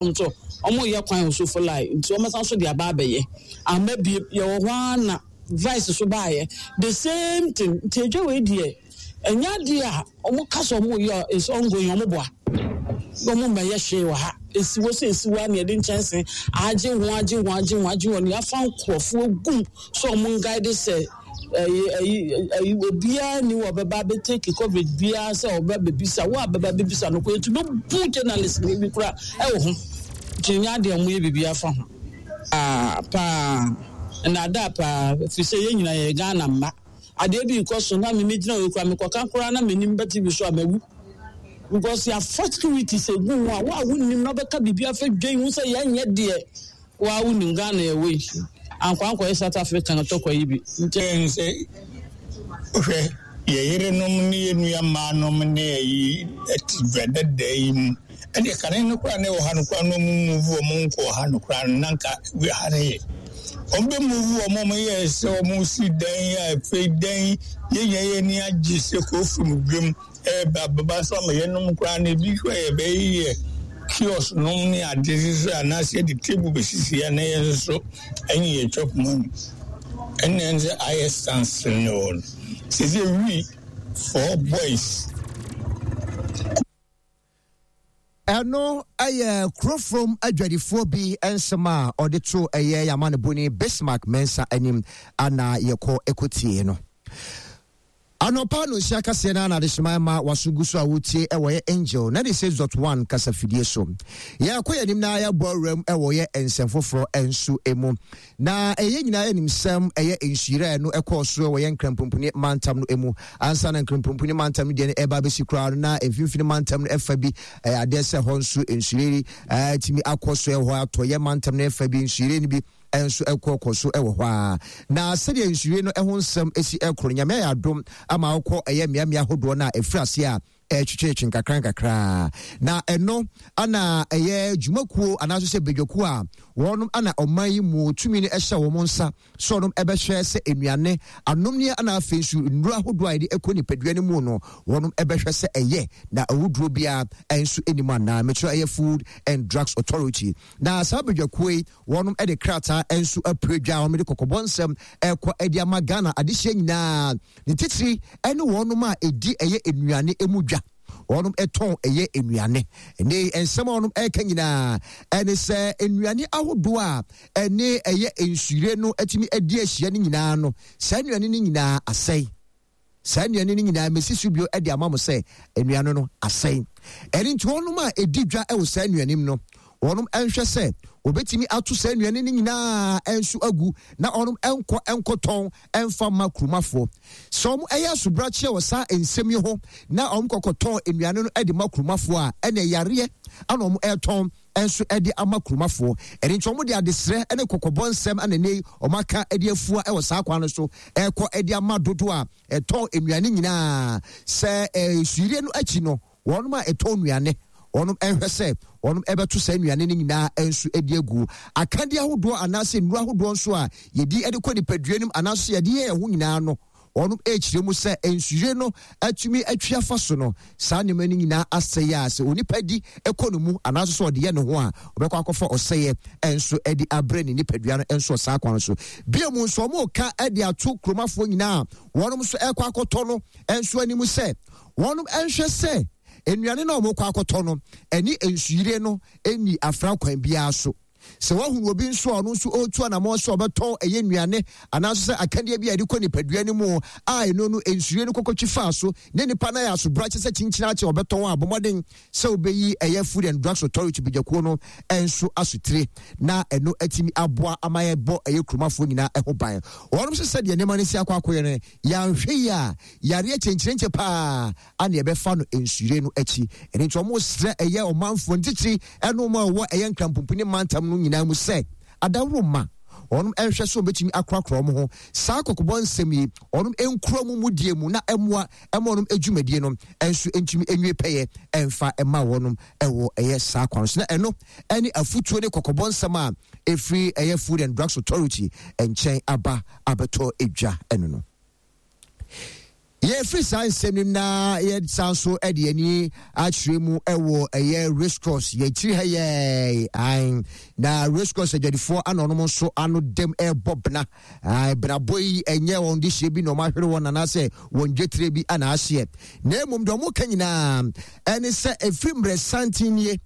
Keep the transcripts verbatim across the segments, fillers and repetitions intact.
Nso ɔmo yɛ kwan wɔ Sofoline, nti ɔmo san so de aba abɛyɛ ama bie. Yɛwɔ hɔ ara na vice so baayɛ, the same thing. Nti edwa wei deɛ, ɛnyɛ adeɛ a ɔmo ka sɛ ɔmo yɛ. Is ongoing. Ɔmo boa na ɔmo mmɛyɛ hwee wɔ ha. Esi hɔ sɛ esi hɔ a, na yɛde nkyɛnse agye ho, agye ho, agye ho, agye ho, na yɛafa nkurɔfoɔ gum so ɔmo nguide sɛ ɛyi ɛyi ɛyi obiara ni wɔ bɛba abɛtake coverage biara sɛ ɔbɛ bɛbisa wo a bɛba bɛbisa no kɔ etu bɛ bu journalist ni bi kora ɛwɔ ho. Nti nyɛ adeɛ ɔmo yɛ biribi afa ho paa paa, nnaadaa paa, firi sɛ yɛn nyinaa yɛ Ghana mma. Adeɛ bi kɔ so na mimi gyina wɔ kura mekɔka koraa na m'anim bɛ T V so a, mawu, because yɛafa security sɛ gu ho a, wo a wonim na wobɛka biribi afa dwan hu sɛ yɛnyɛ deɛ wo a wonim. Ghana yɛwɔ yi ankɔ ankɔyɛ South Africa na tɔkɔ yi bi nti. Ɛn sɛ wohwɛ yɛ yerenom ne yɛ nua mmaanom ne ayi ɛte dwa dada yi mu, ɛdeɛ kane no koraa ne wɔ ha no koraa no, ɔmo move ɔmo nkɔ ha no koraa no, na nka ha no yɛ ɔmo bɛ move ɔmo. Ɔmo yɛ sɛ ɔmo si dan a afei dan yɛnya yɛ ani agye sɛ kɔfiri dwam ɛɛba bɛba so ama yɛnom koraa no. Ebi hwɛ yɛ bɛyɛ kiosk nom ne ade so anaasɛ yɛde table bɛsisi ya na yɛn nso so ɛnyɛ yɛ chop money. Ɛnna ɛn sɛ ayɛ standstill ne wɔ no sɛ we four boys. Ɛno ɛyɛ Kurofrom adwadifoɔ bi nsɛm a ɔde to ɛyɛ yamaneboni Bismarck Mensa anim ana yɛkɔ ɛkɔtie no. Anɔpa no nhyia kaseɛ no ana adehyema ma waso gu so a wotie ɛwɔ yɛ Angel ninety-six point one kasafidie so. Yɛkɔ yɛn anim na yɛbɔ awuram ɛwɔ yɛ nsɛm foforɔ nso mu, na ɛyɛ nyinaa yɛnim sɛm ɛyɛ nsuyerɛ no ɛkɔɔ so ɛwɔ yɛn Nkrampomponi mantam no mu. Ansa na Nkrampomponi mantam no deɛ no ɛba bɛsi koraa no, na mfimfini mantam no ɛfa bi ɛyɛ adeɛ sɛ hɔ nso nsuyere ɛtumi akɔ so ɛhɔ atɔ yɛ mantam no ɛfa bi, nsuyere no bi nso ɛkɔ kɔ so ɛwɔ hɔ a. Na sɛdeɛ nsuyere no ɛho nsɛm esi ɛkoro no, Nyame ayɛ adom ama wokɔ ɛyɛ mmeammea ahodoɔ no a ɛfiri ase a ɛtwetwetwe nkakra nkakra. Na ɛno ana ɛyɛ dwumakuo anaasɛ sɛ badwakuo a wɔnom ana ɔman yi mu tumi no ɛhyɛ wɔn nsa sɛ ɔnom ɛbɛhwɛ sɛ nnuane anomneɛ ana afei nso nnuro ahodoɔ a yɛde ɛkɔ nipadua no mu no, wɔnom ɛbɛhwɛ sɛ ɛyɛ na awuduro biara ɛnso anim anaa. Mekyerɛ ɛyɛ Food and Drugs Authority. Na saa badwakuo yi, wɔnom ɛde krataa nso apue dwa a wɔn de kɔkɔbɔ nsɛm ɛkɔ ɛde ama Ghana adehyɛ nyinaa, ne titiri ɛne wɔnom a ɛdi ɛyɛ nnuane emu dwa, wɔnom ɛtɔn ɛyɛ nnuane. Ɛne nsɛm a wɔnom ɛreka nyinaa ɛne sɛ nnuane ahodoɔ a ɛne ɛyɛ nsuyire no atumi adi ahyia no nyinaa no, saa nnuane no nyinaa asɛe. Saa nnuane no nyinaa, mesi so bio de ama mo sɛ nnuane no asɛe. Ɛne nti wɔnom a ɛdi dwa ɛwɔ saa nnuane mu no, wɔnom nhwɛ sɛ wɔbɛtumi ato saa nnuane no nyinaa nso agu na wɔnom nkɔ nkɔtɔn mfa ma kurumafoɔ. Sɛ wɔn ɛyɛ asobrakyeɛ wɔ saa nsɛm yi ho na wɔn kɔkɔtɔn nnuane no de ma kurumafoɔ a, ɛna yareɛ ana wɔn ɛretɔn nso de ama kurumafoɔ. Ɛne nti wɔn de adesrɛ ne kɔkɔbɔ nsɛm ana ne wɔn aka de afua wɔ saa kwan no so ɛrekɔ de ama dodoɔ a ɛtɔn nnuane nyinaa sɛ ɛɛ suirie no akyi no, wɔn a ɛtɔn nnuane, wɔn nhwɛ sɛ wɔn ɛbɛto saa nnuane no nyinaa nso de agu. Akadeɛ ahodoɔ anaasɛ nnuro ahodoɔ nso a yɛdi de kɔ nipadua no mu anaasɛ yɛde yɛ ɛho nyinaa no, wɔn ɛrekyerɛ mu sɛ nsuyire no atumi atwi afa so no, saa nneɛma no nyinaa asɛe a sɛ onipa di kɔ no mu anaasɛ sɛ ɔde yɛ ne ho a, ɔbɛkɔ akɔfa ɔsɛeɛ nso de abrɛ ne nipadua no nso saa kwan so. Bia mu nso, wɔn ka de ato kuromafoɔ nyinaa, wɔn nso ɛkɔ akɔtɔ no nso anim sɛ wɔn nhwɛ sɛ nnuane no a wɔkɔ akɔtɔ no ɛne nsuyire no ɛni afra kwan biara so. Sɛ wahunu obi nso a ɔno nso ɔretu anammɔn sɛ ɔbɛtɔn ɛyɛ nnuane anaasɛ sɛ akadeɛ bi a yɛde kɔ nipadua no mu a ɛno no nsuyire no kɔkɔtwi faa so ne nipa no ayɛ asobrakye sɛ kyinkyini akyɛ ɔbɛtɔn a, bɔmmɔden sɛ wobɛyi ɛyɛ Food and Drugs Authority badwakuo no nso asotire na ɛno atumi aboa ama yɛbɔ ɛyɛ kuromafoɔ nyinaa ɛho ban. Wɔnom sɛ sɛdeɛ nneɛma no si akɔ akɔyɛ no, yɛanhwɛ yi a, yareɛ kyɛnkyerɛnkyɛ paa ana yɛbɛfa no nsuyire no akyi. Ɛno nti ɔmo srɛ ɛyɛ ɔmanfoɔ ntitiri ɛne ɔmo a ɛwɔ ɛyɛ Nkrampomponi mantam no nyinaa mu sɛ adaworo ma wɔnom ɛnhwɛ sɛ wɔbɛtumi akorakora wɔn ho. Saa kɔkɔbɔ nsɛm yi, wɔnom nkura mu mudie mu na ɛmoa ɛma wɔnom adwumadie no ɛnso ntumi nwie pɛyɛ ɛmfa ɛma wɔnom ɛwɔ ɛyɛ saa kwan so. Na ɛno ɛne afutuo ne kɔkɔbɔ nsɛm a ɛfiri ɛyɛ Food and Drugs Authority nkyɛn aba abɛtɔ edwa ɛno no. Yɛfiri saa nsɛm no na yɛsan so de ani akyerɛ mu wɔ ɛyɛ Race Course yɛkyiri ha yɛ ae na Race Course adwadifoɔ ana ɔnom nso ano dɛm ɛrebɔ bena ae benabɔ yi ɛnyɛ wɔn de hyɛ bi na wɔn ahwere wɔn anaasɛ wɔn dwetire bi ana ahyeɛ, na mmom deɛ wɔn ka nyinaa ɛne sɛ ɛfiri mmerɛ santen nie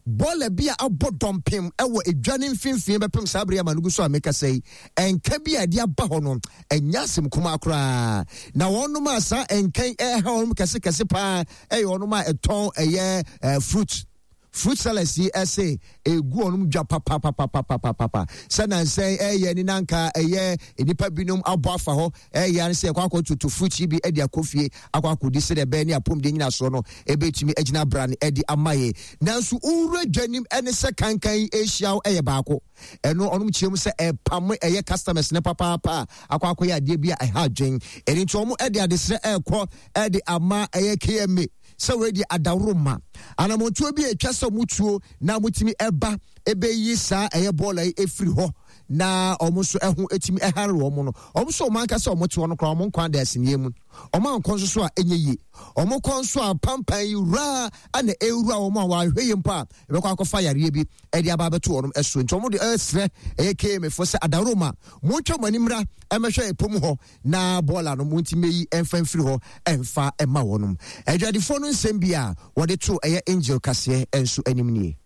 bɔɔla bi a abɔ dɔmpem wɔ edwa ne mfimfini bɛpem saa bere ama no gu so a mekasa yi, ɛnka bi a ɛde aba hɔ no ɛnyɛ asɛm kumaa koraa. Na wɔnom a saa ɛnkan ɛha wɔnom kɛse kɛse paa ɛyɛ wɔnom a ɛtɔn ɛyɛ ɛɛ fruit fruit sellers yi, ɛsɛ egu wɔnom dwa papapapapapapa sɛ nansɛn ɛyɛ ne nanka ɛyɛ nipa binom abɔ afa hɔ ɛyɛ ano sɛ ɛkɔ akɔ toto fruit yi bi ɛde akɔ fie akɔ akɔdi sɛdeɛ ɛbɛyɛ ne apɔmuden nyinasoɔ no ɛbɛtumi agyina bra no ɛde ama yɛ. Nanso wowura dwanim ɛne sɛ kankan yi ahyia wo ɛyɛ baako, ɛno ɔnom kyerɛ mu sɛ ɛpam ɛyɛ customers ne papaapa akɔ akɔyɛ adeɛ bi a ɛha adwen. Ɛno nti ɔmo ɛde adesrɛ ɛrekɔ ɛde ama ɛyɛ K M A sɛ wɔadi adaworo ma anammɔntuo bi a atwa sɛ ɔmo tuo na motumi ɛba ɛbɛyi saa ɛyɛ bɔɔla yi ɛfiri hɔ na ɔmo nso ɛho ɛtumi ɛhare wɔn no. Ɔmo nso ɔmo ankasa ɔmo te hɔ no koraa, ɔmo nkwan da asiniɛ mu, ɔmo ankɔ nso so a ɛnyɛ yie. Ɔmo kɔ nso a, pampan yi wuraa ana ɛwura wɔn a wɔahwɛ yie mpo a, ɛbɛkɔ akɔfa yareɛ bi ɛde aba abɛto wɔn ɛso. Nti ɔmo de ɛsrɛ ɛyɛ K M A fo sɛ adaworo ma montwa mo anim ra ɛmɛhwɛ ɛpom hɔ na bɔɔla no monti mɛyi ɛmfa mfiri hɔ ɛmfa ɛma wɔnom. Adwadifoɔ no nsɛm bi a wɔde to ɛyɛ Angel Kaseɛ ɛnso anim nie.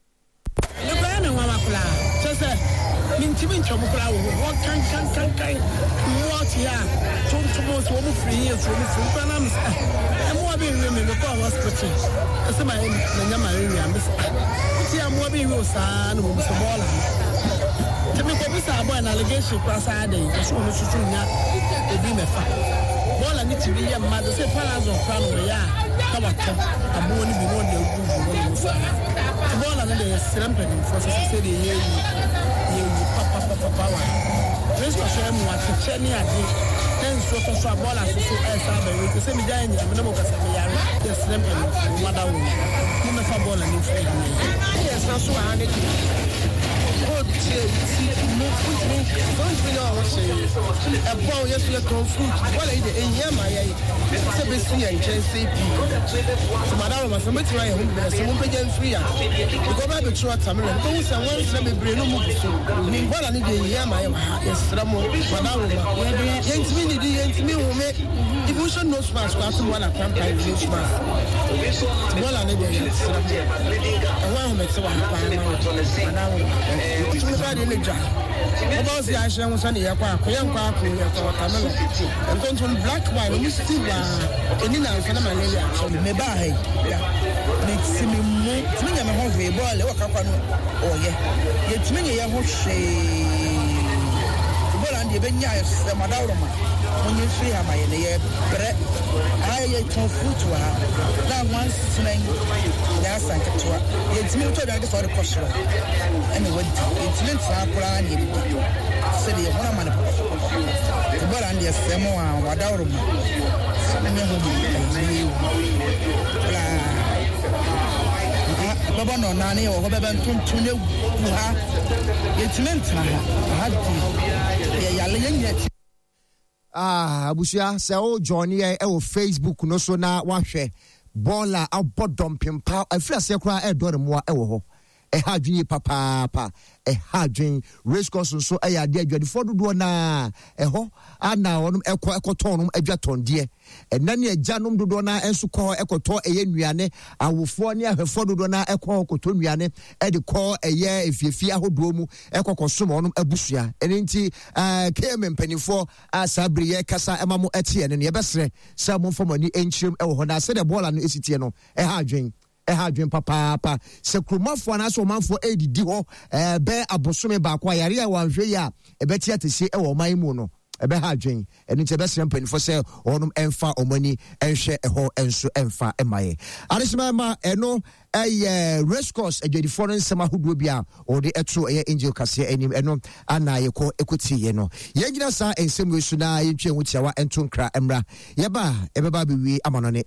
Mekɔyɛ me nwanwa koraa kyɛ sɛ mentimi ntwam koraa wɔ hɔ hɔ kankankankan mmoa te a tontom so wɔn firi yie so wɔn firi nkura nam sɛ mmoa bi nwe me. Mekɔɔ hospital ɛsɛ ma manya malaria. Me sɛ wote a mmoa bi nwe o saa na wɔn sɛ bɔɔla no nti mekɔbisa abɔɛ na allegation koraa saa de ɛso wɔn soso nya obi mɛfa bɔɔla ne tiri yɛ mma de sɛ palazon koraa na wɔyɛ a na watɔ aboɔ no bi na ɔde agu gu hɔ nom saa. Nti bɔɔla no deɛ, yɛsrɛ mpanimfoɔ sɛ sɛ deɛ yɛwu yɛwu papapapapa wa kristo so mu akyekyɛ ne ade na nsuo tɔ so a, bɔɔla so so ɛsa abɛwe nti sɛ megya yɛ nyina me ne mo kasa meyare. Yɛsrɛ mpanimfoɔ mo ada wo mo mɛfa bɔɔla no mfiri ha. Yɛsena so wɔ ha ne deɛ ɔtie ti mu wontumi wontumi nyɛ ɔho hwee ɛbɔ wo. Yɛso yɛtɔn fruit. Bɔɔla yi de ɛhia ma yɛn sɛ bɛsi yɛn nkyɛn sɛ pii nti madawroma sɛ mobɛtumi ayɛ ho bibina sɛ mompɛgya mfiri a because ɔbɛ abɛturu watermelon wobɛhu sɛ nwansena bebree no mu gu so. Bɔɔla no deɛ, ɛhia ma yɛ wɔ ha. Yɛsrɛ mo, madawroma, yɛntumi nidi, yɛntumi nhome. Ibi wohyɛ nose mask kɔ ato bɔɔla pampan nose mask. Bɔɔla no deɛ, yɛsrɛ mo, ɛho ahomete wɔ ha paa ma yɛ, madawroma. Wotumi fa deɛ ne dwa wobɛ wo sɛ yɛahyɛ ho sɛne yɛkɔ ako yɛnkɔ ako yɛtɔ watermelon ntontom black wine ɔmo si waa ɛni nansa na malaria akyɛ. Mebaa ha yi, meti me mu tumi nya me ho hwee. Bɔɔla ɛwɔ kakwa no ɔyɛ yɛtumi nyɛ yɛn ho hwee. Bɔɔla no deɛ, ɛbɛnya yɛsrɛ mo adaworoma monyɛ mfiri ha ma yɛ ne yɛbrɛ ha. Yɛtɔn fruit wɔ ha na nwansena yi nyɛ asa nketewa. Yɛntumi wotɔ aduane kɛ sɛ wɔde kɔ soro ɛna wadi. Yɛntumi ntena koraa ne yɛdidi sɛdeɛ yɛho ama no pɔpɔpɔpɔ. Bɔɔla no deɛ, srɛ mo a adaworoma ne ho bi ɛyɛ koraa bɛbɔ no ɔnaa ne yɛwɔ hɔ bɛbɛ ntontom ne gu ha. Yɛntumi ntena ha ha deɛ, yɛyale yɛnyina ti. Ah, abusua, sɛ wo join yɛ ɛwɔ Facebook no so na wahwɛ bɔɔla abɔ dɔmpem pa afiri aseɛ koraa ɛɛdɔ ne mmoa ɛwɔ hɔ. Ɛha adwene yie papaapa, ɛha adwene. Race course nso ɛyɛ adeɛ adwadifoɔ dodoɔ naa ɛhɔ ana wɔnom ɛkɔ ɛkɔtɔn nom adwatɔndeɛ. Ɛnna ne agyanom dodoɔ naa nso kɔ hɔ ɛkɔtɔ ɛyɛ nnuane. Awofoɔ ne ahwɛfoɔ dodoɔ naa ɛkɔ hɔ kɔtɔ nnuane ɛde kɔ ɛyɛ efiefie ahodoɔ mu ɛkɔ kɔsom wɔnom abusua. Ɛne nti ɛɛ K M mpanimfoɔ a saa bere yɛ kasa ɛma mo ɛte ɛno no, yɛbɛsrɛ sɛ momfa mo ani nkyerɛm ɛwɔ hɔ na sɛdeɛ bɔɔla no esi teɛ no, ɛha adwen, ɛha adwen papaapa. Sɛ kuromafoɔ anaasɛ ɔmanfoɔ ɛredidi hɔ ɛɛ bɛɛ abosome baako a, yare a wɔanhwɛ yi a ɛbɛte atɛsie ɛwɔ ɔman yi mu no, ɛbɛha adwen. Ɛno nti ɛbɛsrɛ mpanimfoɔ sɛ wɔnom ɛmfa wɔn ani ɛnhwɛ ɛhɔ ɛnso ɛmfa ɛma yɛ adehyema ɛma. Ɛno ɛyɛ Race Course adwadifoɔ no nsɛm ahodoɔ bi a wɔde ɛto ɛyɛ Angel Kaseɛ anim. Ɛno ana yɛkɔ ɛkɔtieɛ no. Yɛgyina saa nsɛm wei so na yɛntwa ho tiawa ɛnto nkra mmra. Yɛba a, ɛbɛba abɛwie ama no ne.